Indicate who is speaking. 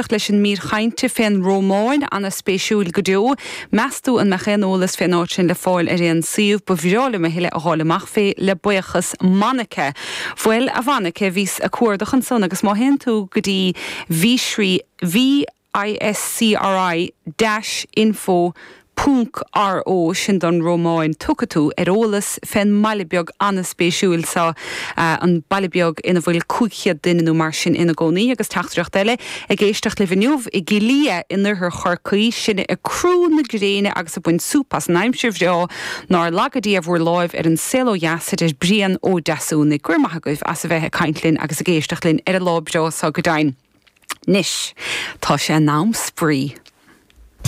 Speaker 1: Leis an mír chainte fén Rómáin, ana-spéisiúil go deo. Meas tú an mbeadh aon eolas fén áit sin le fáil ar aon suíomh? Ba bhreá liom a thuilleadh a dh'fháil amach fé, le buíochas. Monica. Bhuel, a Mhonica, bhíos a' cuardach ansan agus má théann tú go dtí Viscri, V-I-S-C-R-I dash info Púnc RO, sin don Rómáin, tiocfaidh tú ar eolas fén mbaile beag an-spéisiúil seo, an baile beag ina bhfuil 500 duine nó mar sin ina gcónaí. Agus teachtaireacht eile, ag éisteacht libh inniu i gCill Lia in oirthear Chorcaí, sinne ag crú na gréine agus ag baint súp as an aimsir bhreá, nár laga Dia bhur láimh ar an saol ó dheas, a deir Brian Ó Deasúnaigh. Go raibh maith agaibh as a bheith ag caint linn agus ag éisteacht linn ar an lá breá seo go deimhin. Anois, tá sé in am spraoi.